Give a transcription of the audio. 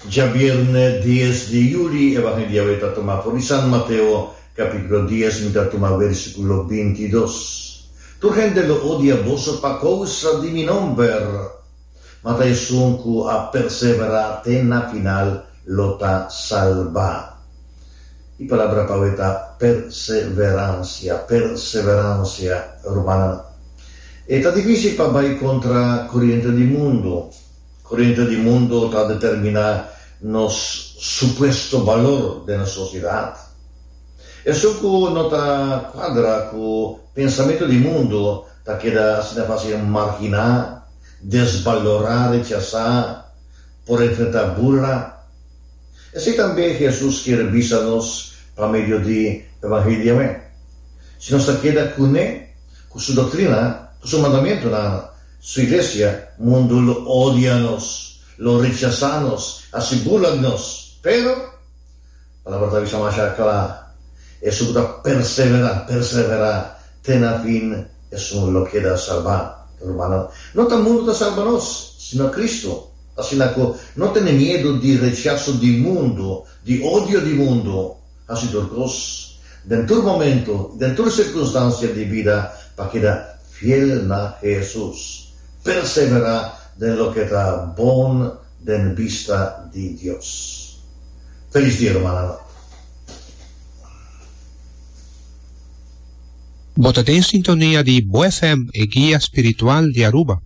Djabierne dies di yuli Evangelio di awe ta tuma for di San Mateo capítulo dies mi ta tuma versículo bintidos. Tur hende lo odia boso pa causa di mi nomber, ma ta esun cu a persevera te na final lo ta salba. E palabra pa awe ta perseverancia, perseverancia, rumannan. E ta difícil pa bai contra coriente di mundo. Coriente di mundo ta determina nos supuesto balor den nos sociedad. Esun cu no ta cuadra cu pensamento di mundo ta keda asina facil margina, desbalora, rechasa, por enfrenta burla. Esei tambe Hesus kier bisa nos pa medio di Evangelio awe. Si nos ta keda kuné, ku su doktrina, ku su mandamentunan, su iglesia, mundu lo odia nos, lo rechasá nos, hasi burla di nos. Pero, Palabra ta bisa masha kla, Esun ku ta perseverá, perseverá te na fin, esun lo keda salbá. Rumannan, no ta mundu ta salba nos, sino Kristu. Asina ku no tene miedu di rechaso di mundu, di odio di mundu. Hasi tur kos, den tur momentu i den tur sirkunstansia di bida pa keda fiel na Hesus. Perseverá den loke ta bon den bista di Dios. Felis dia, rumannan. Bo ta den sintonia di Bo FM, e guia spiritual di Aruba.